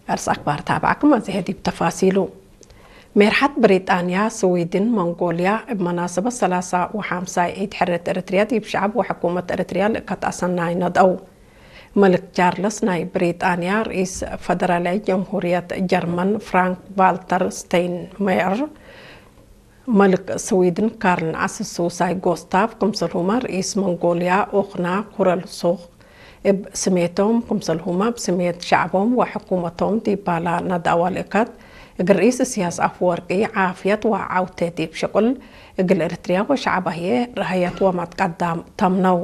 ኣርስ ኣክባር ታባዕኩም ኣዚሀ ዲብ ተፋሲሉ። ሜርሓት ብሪጣንያ፣ ስዊድን፣ መንጎልያ እብ መናሰበት ሰላሳ ወሓምሳይ ዒድ ሕርየት ኤርትርያ ዲብ ሸዓብ ወሕኩመት ኤርትርያ ልእከት ኣሰናይ ነደው። መልክ ቻርለስ ናይ ብሪጣንያ፣ ርኢስ ፈደራላዊ ጀምሁርየት ጀርመን ፍራንክ ቫልተር ስቴይንሜየር፣ መልክ ስዊድን ካርል ዓሰርተ ሱሳይ ጎስታፍ፣ ክምሰልሁማ ርኢስ መንጎልያ ኦኽና ኩረልሱኽ እብ ስሜቶም፣ ክምሰልሁማ ብስሜት ሸዕቦም ወሕኩመቶም ዲባላ ናዳዋ ልእከት፣ እግል ርኢስ እስያስ ኣፍወርቂ ዓፍየት ወዓውቴ ዲብ ሽቁል እግል ኤርትርያ ወሸዕባህየ ረሀየት ወመትቀዳም ተምነው።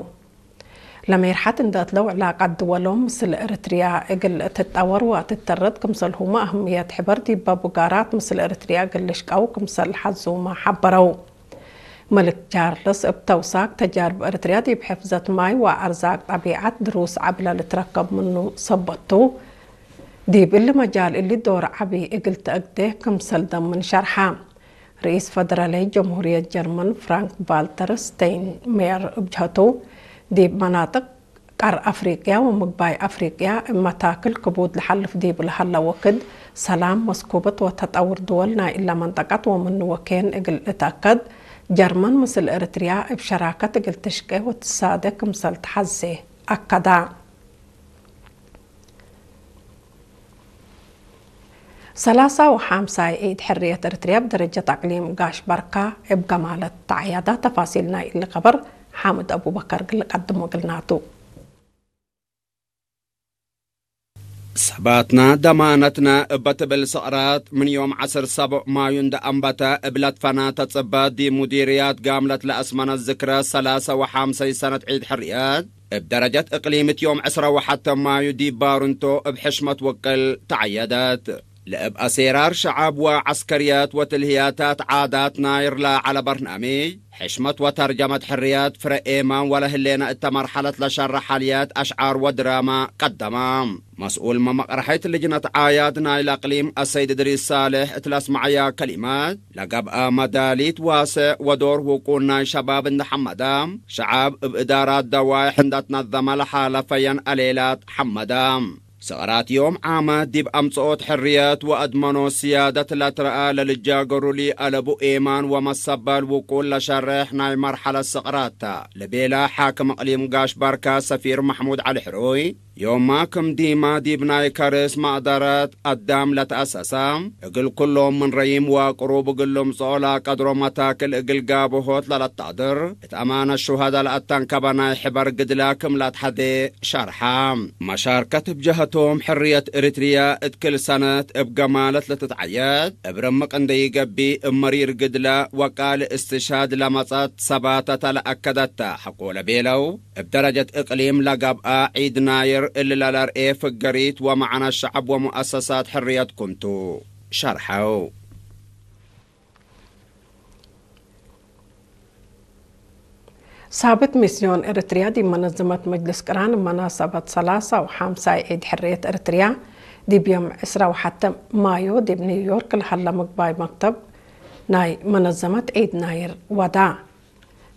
ለሜርሓት እንደ እትለው ዕላቃት ድወሎም ምስል ኤርትርያ እግል ትጠወር ወትተረድ ክምሰልሁማ ኣህምየት ሕበር ዲበ ቡጋራት ምስል ኤርትርያ እግል ልሽቀው ክምሰል ሓዙማ ሓበረው። መልክ ቻርልስ እብ ተውሳክ ተጃርብ ኤርትርያ ዲብ ሕፍዘት ማይ ወኣርዛቅ ጠቢዓት ድሩስ ዓብለ ልትረከብ ምኑ ሰበቱ፣ ዲብ እሊ መጃል እሊ ዶር ዓቢ እግል ተአግዴ ክምሰል ደምን ሸርሓ። ርኢስ ፈደራላዊ ጀምሁርየት ጀርመን ፍራንክ ቫልተር ስቴይንሜየር እብ ጀህቱ፣ ዲብ መናጥቅ ቀር ኣፍሪቅያ ወምግባይ ኣፍሪቅያ እብ መታክል ክቡድ ለሓልፍ ዲብ ለሀለ ወክድ፣ ሰላም፣ መስኩበት ወተጠውር ድወል ናይ እለ መንጠቀት ወምኑ ወኬን እግል ልትአከድ፣ ጀርመን ምስል ኤርትርያ እብ ሸራከት እግል ትሽቄ ወትሳደ ክምሰል ተሐዜ ኣከዳ። ሰላሳ ወሓምሳይ ዒድ ሕርየት ኤርትርያ ብደረጀት ኣቅሊም ጋሽ ባርካ እብ ገማለት ተዓያዳ። ተፋሲል ናይ እሊ ከበር ሓምድ ኣቡበከር ግል ቀድሞ ግልናቱ። ሰባትና ደማነትና እበ ትብል ስቕራት ምን ዮም ዓሰርተ ሰቡዕ ማዩ እንደ ኣንበተ እብ ለትፈና ተጽበ ዲብ ሙዲርያት ጋምለት ለአስመነት ዝክረ ሰላሳ ወሓምሳይ ሰነት ዒድ ሕርየት እብ ደረጀት እቅሊም እቲ ዮም ዕስራ ወሓተ ማዩ ዲብ ባሩንቶ እብ ሕሽመት ወቅል ተዓየደት። ለእብ ኣሴራር ሸዓብ ወዐስከርየት ወትልህያታት ዓዳት ናይር ለዐለ በርናምጅ፣ ሕሽመት ወተርጀመት ሕርየት ፍረ ኤማን ወለህሌነ እተ መርሐለት ለሸረ ሐልየት አሽዓር ወድራማ ቀደማ። መስኡል መመቅረሐይት ልጅነት ዓያድ ናይለ እቅሊም አሰይድ እድሪስ ሳልሕ እት ለአስመዐያ ከሊመት፣ ለገብአ መዳሊት ዋስዕ ወዶር ውቁን ናይ ሸባብ እንደ ሐመዳ፣ ሸዓብ እብ እዳራት ደዋይሕ እንደ ትነዘመ ለሓለፈየን አሌላት ሐመዳ። ስቕራት ዮም ዓመት ዲብ አምጽኦት ሕርየት ወአድመኖ ስያደት ለትረአ ለልጃገሩ ሊአለቡ ኤማን ወመሰበል ውቁል ለሸርሕ ናይ መርሐለት ስቕራት ተ፣ ለቤለ ሓክም እቅሊም ጋሽ ባርካ ሰፊር መሕሙድ ዐሊ ሕሩይ፣ ዮማ ክም ዲማ ዲብ ናይ ከርስ መቅደረት አዳም ለተአሰሰ፣ እግል ኩሎም ምን ረይም ወቅሩብ እግል ልምጽኦ ለቀድሮ መታክል እግል ጋብሆት ለለታድር፣ እት አማነት ሹሃዳ ለአተንከበ ናይ ሕበር ግድላ ክም ለአትሐዜ ሸርሐ። መሻርከት እብ ጀሀቶም ሕርየት ኤርትርያ እት ክል ሰነት እብ ገማለት ለትትዓየድ፣ እብ ርምቅ እንደ ይገቢ እብ መሪር ግድላ ወቃል እስትሽሃድ ለመጸት ሰባተተ ለአከደተ ሐቆ ለቤለው፣ እብ ደረጀት እቅሊም ለገብአ ዒድ ናይር እሊ ለለርኤ ፍገሪት ወመዕነ ሸዐብ ወሙአሰሳት ሕርየት ኩንቱ ሸርሐው። ሳብት ሚስዮን ኤርትርያ ዲብ መነዘመት መጅልስ ቅራን መናሰበት ሰላሳ ወሓምሳይ ዒድ ሕርየት ኤርትርያ ዲብ ዮም ዕስራ ወሓተ ማዮ ዲብ ኒውዮርክ ለሀለ ምግባይ መክተብ ናይ መነዘመት ዒድ ናይር ወዳ።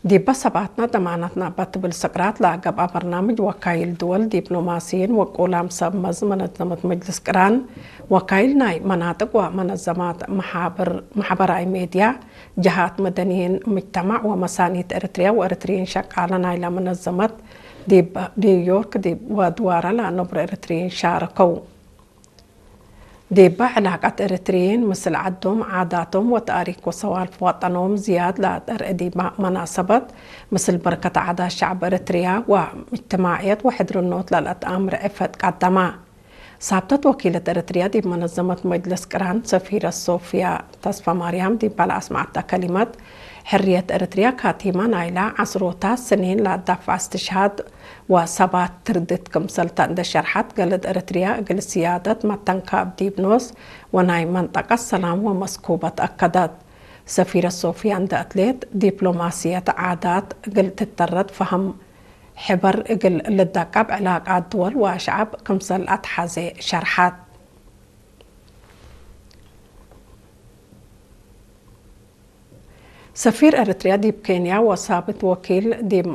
ዲበ ሰባትና ደማናትና እበ ትብል ስቅራት ለገብአ በርናምጅ ወካይል ድወል፣ ዲፕሎማሲይን ወቁላም ሰብ መዝ መነዘመት መጅልስ ቅራን፣ ወካይል ናይ መናጥቅ ወመነዘማት መሓብር-፣ ማሕበራይ ሜድያ፣ ጀሃት መደንይን ምጅተማዕ ወመሳኒት ኤርትርያ ወኤርትርይን ሸቃለ ናይለ መነዘመት ዲብ ኒውዮርክ ዲብ ወድዋረ ለአነብሩ ኤርትርይን ሻረከው። ዲበ ዕላቀት ኤርትርይን ምስል ዐዶም፣ ዓዳቶም ወተኣሪክ ወሰዋልፍ ወጠኖም ዝያድ ለአጠርእ ዲበ መናሰበት፣ ምስል በርከት ዓዳት ሸዕብ ኤርትርያ ወእጅትማዕየት ወሕድርኖት ለልአትአምር ዕፈት ቀደማ። ሳብተት ወኪለት ኤርትርያ ዲብ መነዘመት መጅልስ ቅራን ሰፊረት ሶፍያ ተስፋማርያም ዲበ ለአስመዐተ ከሊመት፣ ሕርየት ኤርትርያ ካቲመ ናይላ ዐስሮታት ስኒን ለአዳፍዐ እስትሽሃድ ወሰባት ትርድት ክምሰልተ እንደ ሸርሐት፣ ገለድ ኤርትርያ እግል ስያደት መተንካብ ዲብ ኖስ ወናይ መንጠቀት ሰላም ወመስኩበት አከደት። ሰፊረት ሶፍያ እንደ እትሌት፣ ዲፕሎማስየት ዓዳት እግል ትተረድ ፈሀም ሕበር እግል ልደቀብ ዕላቃት ድወል ወአሽዓብ ክምሰል አትሐዜ ሸርሐት። ሰፊር ኤርትርያ ዲብ ኬንያ ወሳብት ወኪል ዲብ